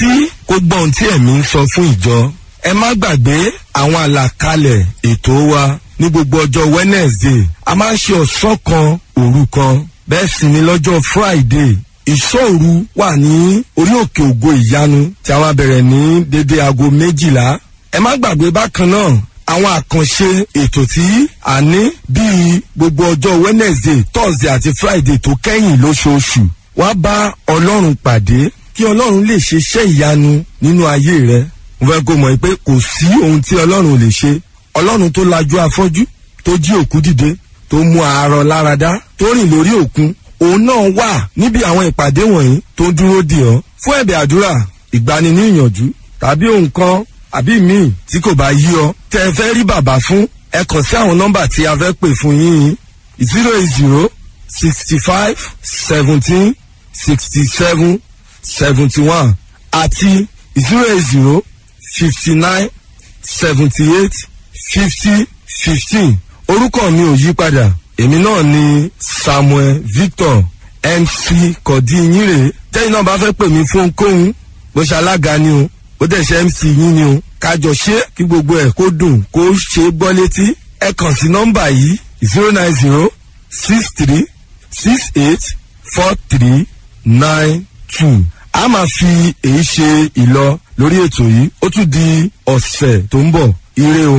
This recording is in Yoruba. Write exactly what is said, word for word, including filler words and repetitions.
Tí kò gbọ́ ohun tí ẹ̀mí ń sọ fún ìjọ. Ẹ má gbàgbé àwọn àlàkalẹ̀ ètò wa ní gbogbo ọjọ́ Wednesday. A máa ń ṣe ọ̀sán kan òru kan. Bẹ́ẹ̀ sì ni lọ́jọ́ Friday. Ìṣọ́ òru wà ní orí òkè ògo ìyanu tí a máa bẹ̀rẹ̀ ní dédé aago méjìlá. Ẹ má gbàgbé bákan náà àwọn àkànṣe ètò tí a ní bíi gbogbo ọjọ́ Wednesday, Thursday àti Friday tó kẹ́yìn lóṣooṣù. Wá bá Ọlọ́run pàdé kí Ọlọ́run lè ṣe iṣẹ́ ìyanu nínú ayé rẹ. Mo fẹ́ kó mọ̀ pé kò sí ohun tí Ọlọ́run ò lè ṣe. Ọlọ́run tó lajú afọ́jú, tó jí òkú dìde, tó mú àárọ̀ láradá, tó rìn lórí òkun, òun náà wà níbi àwọn ìpàdé wọ̀nyí tó ń dúró dè ọ́. Fún ẹ̀bẹ̀ àdúrà, ìgbani ní ìyànjú tàbí ohun kan àbí míì tí kò bá yí ọ tẹ́ ẹ fẹ́ rí bàbá fún, ẹ kàn sí àwọn nọ́mbà tí a fẹ́ pè fún yín: zero eight zero sixty five seventeen sixty seven seventy one àti zero eight zero fifty nine seventy eight fifty fifteen. Orúkọ mi ò yí padà, èmi náà ni Samuel Victor M C Kọ̀dí yín rèé. Tẹ́yìn náà bá fẹ́ pè mí fún ohunkóhun, bó ṣe alága ni o, ó dẹ̀ ṣe M C yín ni o, kájọ ṣe kí gbogbo ẹ̀ kó dùn kó ṣe é gbọ́ létí, ẹ kàn sí nọ́mbà yìí: zero nine zero six three six eight four three nine two. A máa fi èyí ṣe ìlọ lórí ètò yìí. Ó tún di ọ̀sẹ̀ tó ń bọ̀. Ire o.